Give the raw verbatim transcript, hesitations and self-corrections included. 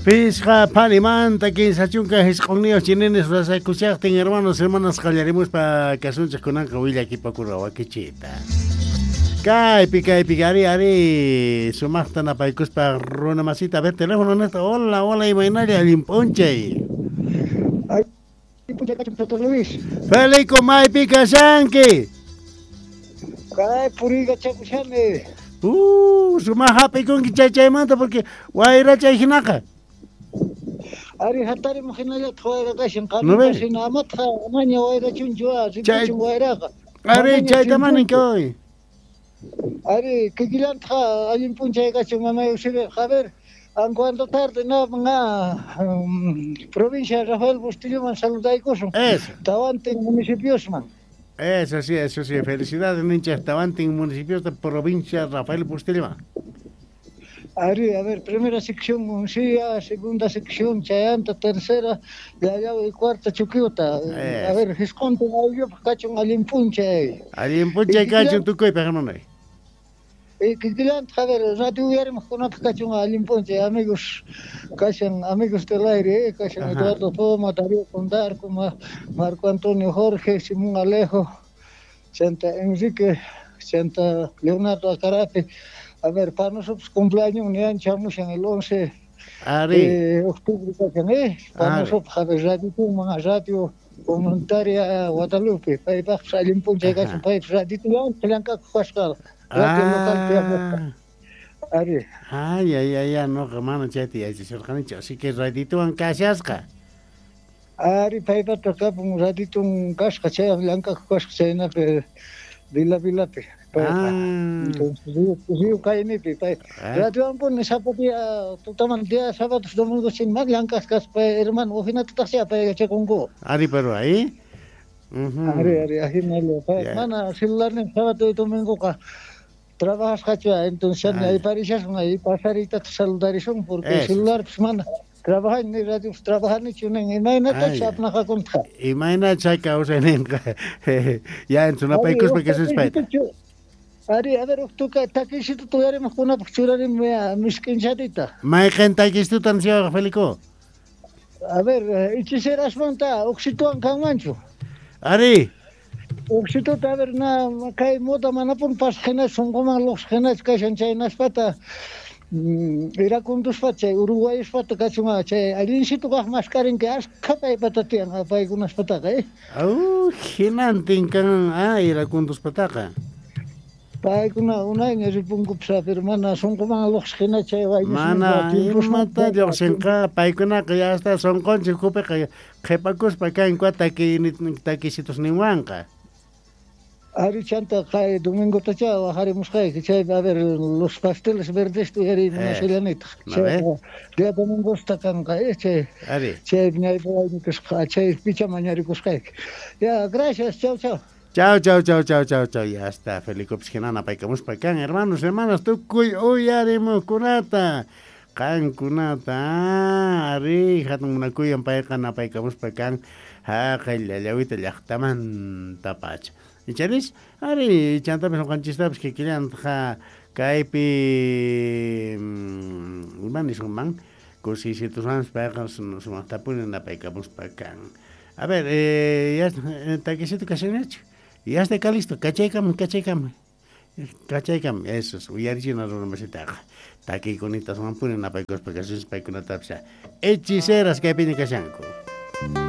Pisqa phalimanta kinsa chunka hisq'unniyuq chininis rasakushaqtin hermanos hermanas qallarimuspa kasunchik kunanqa willakipakura wakichita. Kaypi kaypi ari ari sumaqta napaykuspa runa masita a ver teléfono nesta hola hola imaynalla allin p'unchay. Allin p'unchay kachun doctor Luis. Felico maypi kashanki. Kay puriykachakushani. Uh, sumaq hap'ikunki chay chaymanta porque wayrachay hinaqa. Ari hatarimuq hinallataq wayra kashan ¿No ve? qanpas hina amatqa amaña wayrachunchu ripuchun wayraqa. Ari chayta manin hoy. Ari kikillantaq allin p'unchay kachun mamay Eusebio. A ver, en cuanto tarde no nga um, provincia Rafael Bustilloman saludaykusun. Eso. Tawantin municipiosman. Eso sí, eso sí. Felicidades, nincha. Tawantin municipios de provincia Rafael Bustillo. Ari, a ver, primera sección Uncía, segunda sección Chayanta, tercera Yayao y cuarta Chuquiuta. A ver, hisq'untin ayllupaq kachun allin p'unchay. Allin p'unchay kachun tukuypaq, hermano. Y kikillantaq, a ver, radio uyarimuqkunapaq kachun allin p'unchay, amigos, kashan amigos del aire, eh, kashan Ajá. Eduardo Poma, Darío Condarco, Marco Antonio Jorge, Simón Alejo, Santa Enrique, Santa Leonardo Acarape. A ver, para nosotros cumpleaños ni chamushan el once Ari. de octubre, ¿eh? Para Ari. nosotros, a ver, radio Puma, radio comunitaria Guadalupe, paypaq allin p'unchay kachun, paypaq radio llank'akuq kasqa, radio local Ah. Ari. Ay, ay, ay, ay, no, mana chayta yachachirqanichu, así que radituwan kashasqa. Ari, paypata kapun raditun kasqa, chay llank'akuq kasqa, chaynapi Vila Vilapi. Ah. Entonces, río, río Caimipi, pay. Ah. Radiowan sapa día, tutaman día, sábados, domingos, sin más llank'aq kaspa, hermano, ujinatataq sea pay yachakunku. Ari, pero ahí. Uh-huh. Ari, ari, ajinalla, pay. Ya. Mana celularnin sábado y domingoqa trabajasqachu, entonces Ah. ahí parishasun, ahí pasarita saludarisun, porque Eso. celular pues mana trabajan ni radio trabajanichu nin imaynatach Ay. apnaqakuntaq. Imayna chay kawsayninqa ya en sunapaykuspa kasuspayta. Ari, a ver, tuka takisituta uyarimuqkunapaq churarim misk'inchatita. Mayqin takistutan siwaq Felico? A ver, hechicerasmanta oxituan kanmanchu. Ari. Oxituta, a ver, na kay moda manapun pasaq hinachu sunquman luqsaq hinachu kashan chaynaspata mm, iracunduspata chay uruguayuspata kachun chay allinsitu kaq maskarinki askha paypata tiyan paykunaspataqa, eh. Au, hinantin kan ah iracunduspataqa. Paykuna unayña ripunkupas, pero mana sunquman luqsaq hina chay Mana imata lluqsinqa paykunaqa ya hasta sunqunchik ukhupiqa qhipakuspa kanku taki takisitusninwanqa. Ari chanta kay domingotacha waqarimusqayki chaypi a ver los pasteles verdes uyarimunashallanitaq. ¿No ve? Día domingosta kanqa, eh, chay Ari. chaypi ñaypawaynikusqa chay picha mañarikusqayki. Ya, gracias, chau, chau. Chau, chau, chau, chau, chau, chau. Ya está, Felico hina napaykamuspa kan, hermanos, hermanas, tukuy uyarimuqkunata. Qankunata, ari, hatun munakuyan payqa napaykamuspa kan, haqay llallawita llaqtamanta pacha. Icharis, ari, chantapis ñuqanchistapis kikillantaq kaypi ima nisunman kusisituswanpas payqa sumaqtapuni napaykamuspa kan. A ver, eh, ya takisito kashanñachu. Ya está acá listo, kachaykam, kachaykam. Kachaykam, eso es, uyarichina runa masitaqa. Takiykunita sumanpuni napaykuspa kasunchis paykunatapis hechiceras kaypiña kashanku.